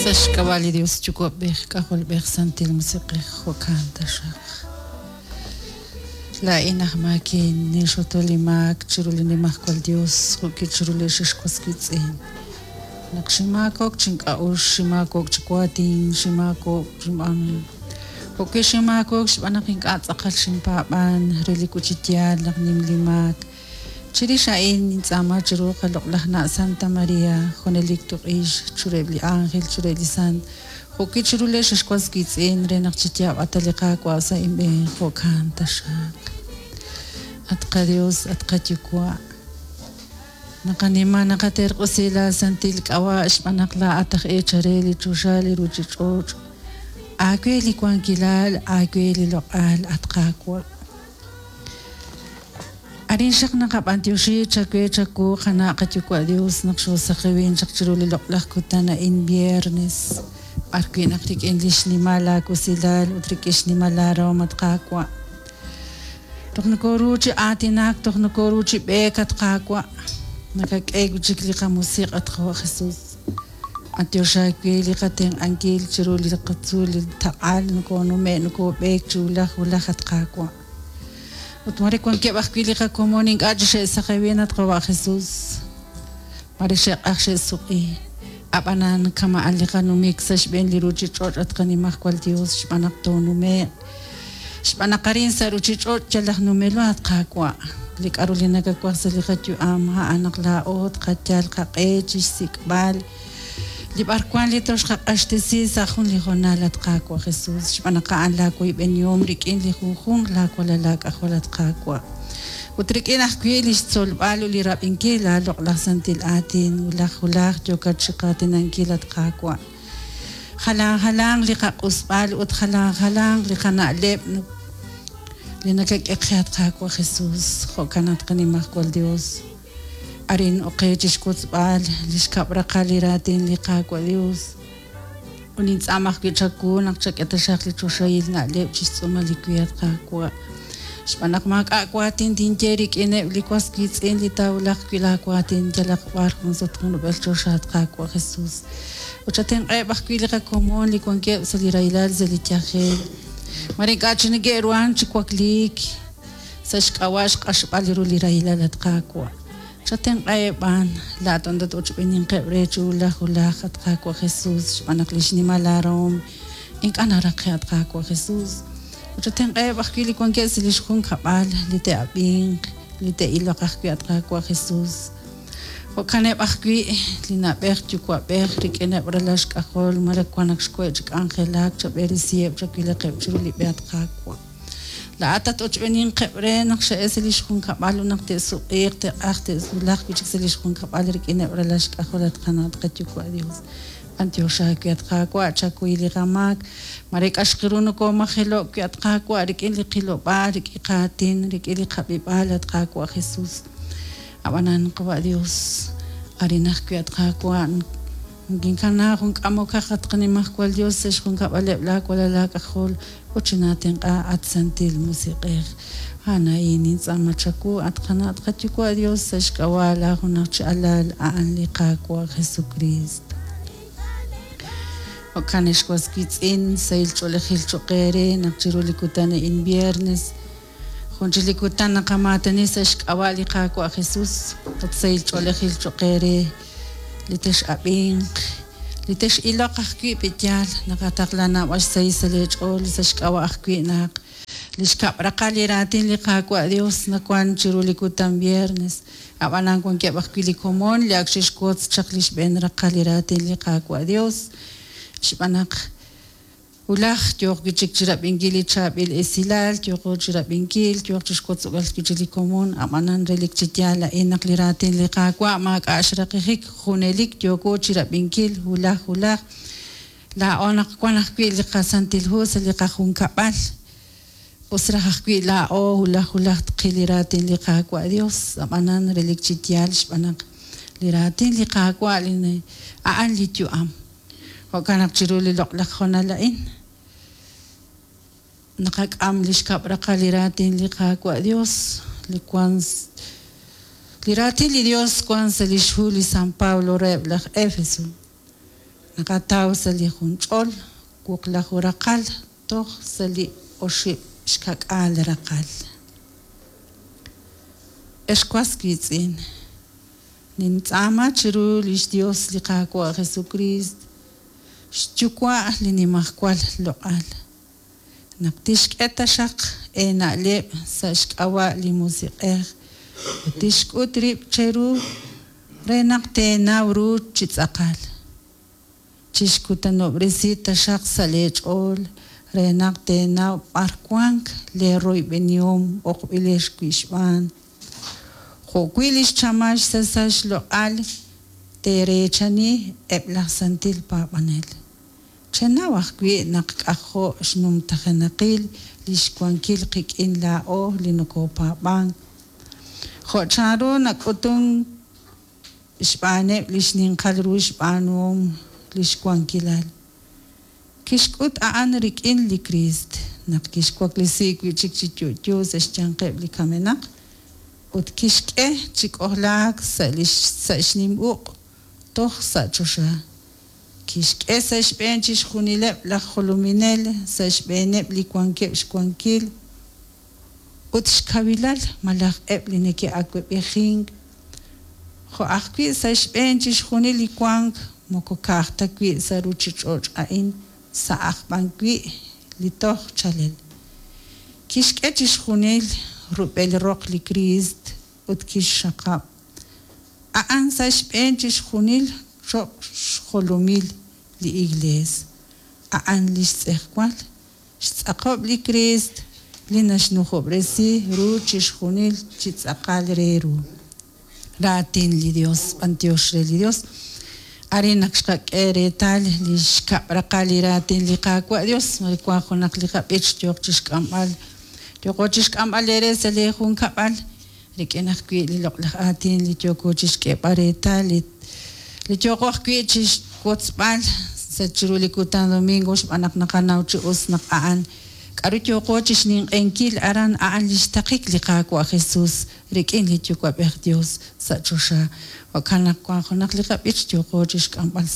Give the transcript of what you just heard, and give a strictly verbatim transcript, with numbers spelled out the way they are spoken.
Sa' xk'ab'a' li Dios Yuwa'b'ej, K'ajolb'ej, Santil Musiq'ej, jo'kan taxaq. Laa'in aj maakin ninxoto li maak chiru li Nimajwal Dios jo'ki chiru li xixwas wiitz'in. Naq ximaakok chink'a'uxl, ximaakok chi waatin, ximaakok xinb'aan jo'ki ximaakok xb'aan naq ink'a' tz'aqal xinpaab'an re li chi yaal naq nim li maak. Chirix a'in nintz'aama chiru qaloq'laj na' Santa Maria, junelik tuq'ix chiruheb' li ángel, chiruheb' li sant, jo'ki chiru li xixwas wiitz'in re naq chi yaab'ata li Qaawa' sa' inb'een, jo'kan taxaq. At qaDios, at qaYuwa', naqanima naqaterq'usi la santil k'ab'a' xb'aan naq laa'at aj eechare li choxa li ruuchich'och'. Aawe li wankilal, aawe li loq'al, at Qaawa'. Arin xaq naqab'antioxi chawe chaku qana' qaYuwa' Dios naq xoosaqewin chaq chiru li loq'laj kutan a'in viernes. B'ar wi' naq rik'in li xnimal aakusilal ut rik'in xnimal aarahom at Qaawa'. Toj nokoru chi aatinak, toj nokoru chi b'eek at Qaawa'. Nakak'e wi' chik li qamusiq' at Qawa' Jesus. B'antiox aawe li qatenq'ankil chiru li qatzuul li taq'al nokonume' nokob'eek chi wulaj wulaj at Qaawa'. Ut mare wankeb' ajwi' li qakomon ink'a' chi xe'saqewin at Qawa' Jesus. Mare xe'q'aj xe'suq'i. Ab'anan kama'an li qanumik sa' xb'een li ruuchich'och' at qanimajwal Dios xb'aan naq toonume'q. Xb'aan naq arin sa' ruuchich'och' yal aj numelo at Qaawa'. Li k'aru li nakawaj sa' li qayu'am a'an naq laa'o tqayal qaq'e chi xsik'b'al li b'arwan li toxqaq'axtesi sa' jun li hoonal at Qaawa' Jesus. Xb'aan naq a'an laawoyb'enihom rik'in li junjunq laawalal laak'ajol at Qaawa'. Ut rik'in ajwi' li xtzolb'al ut li rab'inkil laaloq'laj santil aatin wulaj wulaj yookat chi qaatinankil at Qaawa'. Jalan jalan li qaq'usb'al ut jalan jalan li qana'leb' li nakak'e qe at Qaawa' Jesus. Jo'kan at qanimajwal Dios. Arin oqe chi xwotzb'al li xkab' raqal li raatin li Qaawa' Dios. Ut nintz'aam ajwi' chawu naq chak'e taxaq li choxahil na'leb' chi xtz'uumal li wi at Qaawa'. Xb'aan naq maak'a' waatin tinye rik'ineb' li was wiitz'in li taawulaq wi' laawaatin yalaq b'ar jun sut jun rub'el choxa at Qaawa' Jesus. Ut chatenq'eb' ajwi' li qakomon li wankeb' sa' li rahilal sa' li yajel. Mare ink'a' chi neke'ruhan chi wakliik sa' xk'ab'a' xq'axb'al ru li rahilal at Qaawa'. Chatenq'eb' b'an laa'at ondat ochb'eninqeb' re chi wulaj wulaj at Qaawa' Jesus xb'aan naq li xnimal aarahom ink'a' naraqe' at Qaawa' Jesus. Ut chatenq'eb' ajwi' li wankeb' sa' li xjunkab'al li te'ab'inq, li te'iloq ajwi' at Qaawa' Jesus. Jo'kaneb' ajwi' li na'b'ej yuwa'b'ej rik'ineb' ralal xk'ajol mare wan naq xwe' chi k'anjelak chab'eresiheb' chawilaqeb' chiru li b'e at Qaawa'. Laa'at at ochb'eninqeb' re naq xe'el sa' li xjunkab'al ut naq te'suq'iiq te'q'aj te'wulaq wi' chik sa' li xjunkab'al rik'ineb' ralal xk'ajol at qana' at qaYuwa' Dios. B'antiox aawe at Qaawa' chakuy li qamaak. Mare k'axqiru nokomajelo'k wi' at Qaawa' rik'in li qilob'aal, rik'in qaatin, rik'in li qab'ib'aal at Qaawa' Jesus. Ab'anan Qawa' Dios, arin ajwi' at Qaawa' nkinkana jun k'amokaq at qanimajwal Dios sa' xjunkab'aleb' laawalal laak'ajol ut chinatenq'a at Santil Musiq'ej. A'an nintz'aama chawu at qana' at qaYuwa' Dios sa' xk'ab'a' laajunaj chi alal a'an li Qaawa' Jesucristo. Jo'kan xwas wiitz'in sahil ch'oolejil cho'q eere naq chiru li kutan a'in viernes jun chi li kutan naqamaatani sa' xk'ab'a' li Qaawa' Jesus ut sahil ch'oolejil cho'q eere li tex'ab'inq li tex'iloq ajwi' pi'yaal naqataqla naab'al xsahil sa' leech'ool sa' xk'ab'a' ajwi' naq li xkab' raqal li raatin li Qaawa' Dios nawan chiru li kutan viernes. Ab'anan wankeb' ajwi' li komon li ak xe'xwotz chaq li xb'een raqal li raatin li Qaawa' Dios. Xb'aan naq wulaj yooq wi' chik chi rab'inkil li chaab'il esilal, yooqo chi rab'inkil, yooq chi xwotzb'al wi' chik li komon, ab'anan relik chi yaal a'in naq li raatin li Qaawa' maak'a' xraqijik junelik yooko chi rab'inkil wulaj wulaj. Laa'o naq wan ajwi' li qasantil hu sa' li qajunkab'al. Us raj ajwi' laa'o wulaj wulaj tqil li raatin li Qaawa' Dios, ab'anan relik chi yaal xb'aan naq li raatin li Qaawa' li a'an li yu'am. Jo'kan naq chiru li loq'laj hoonal a'in naqak'am li xkab' raqal li raatin li Qaawa' Dios li wan li raatin li Dios wan sa' li xhu li San Pablo reheb' laj Éfeso. Naqataw sa' li jun ch'ol wuqlaju raqal toj sa' li oxib' xka'k'aal raqal. Ex was wiitz'in, nintz'aama chiru li xYos li Qaawa' Jesukriist, xYuwa' li nimajwal loq'al, naq tixk'e taxaq eena'leb' sa' xk'ab'a' li Musiq'ej ut tixk'ut rib' cheru re naq teenaw ru chi tz'aqal. Chixkutanob'resi taxaq sa' leech'ool re naq teenaw b'ar wank leeroyb'enihom b'oqb'ilex wi' xb'aan, jo'wi' li xchamal xsasal xloq'al teereechani eb' laj santil paab'anel. Chenaw ajwi' naq k'ajo' xnumtajenaqil li xwankil qik'in laa'o li nokopaab'ank, jo' chanru nak'utunk xb'aaneb' li xninqal ru xb'aanuhom li xwankilal. Kixk'ut a'an rik'in li Kriist naq kixwaklesi wi' chik chi yo'yo sa' xyanqeb' li kamenaq ut kixk'e chi k'ojlaak sa' li sa' xnim uq' toj sa' choxa. Kixk'e sa' xb'een chixjunileb' laj jolominel, sa' xb'eeneb' li wankeb' xwankil ut xkawilal malaj eb' li neke'awab'ejink, jo' ajwi' sa' xb'een chixjunil li wank moko ka'aj ta wi' sa' ruuchich'och' a'in, sa' aj b'an wi' li toj chalel. Kixk'e chixjunil rub'el roq li Kriist ut kixxaqab' a'an sa' xb'een chixjunil cho'q xjolomil li Iklees, a'an li xtz'ejwal, xtz'aqob' li Kriist li naxnujob'resi ru chixjunil chi tz'aqal re ru. Raatin li Yos, b'anyox re li Yos. Arin naq xqak'e reetal li xkab' raqal li raatin li Qaawa' Dios, mare wank junaq li qab'ich yooq chi xk'amb'al, yooqo chi xk'amb'al eere sa' lee junkab'al, rik'in ajwi' li loq'laj aatin li yooko chi xk'eeb'al reetal, li li yooqo ajwi' chi xwotzb'al sa' chiru li kutan domingo xb'aan naq naqanaw chi us naq a'an k'aru yooqo chi xninq'ehinkil aran a'an li xtaqik li Qaawa' Jesus rik'in li Yuwa'b'ej Dios sa' choxa. Jo'kan naq wank junaq li qab'ich yooqo chi xk'amb'al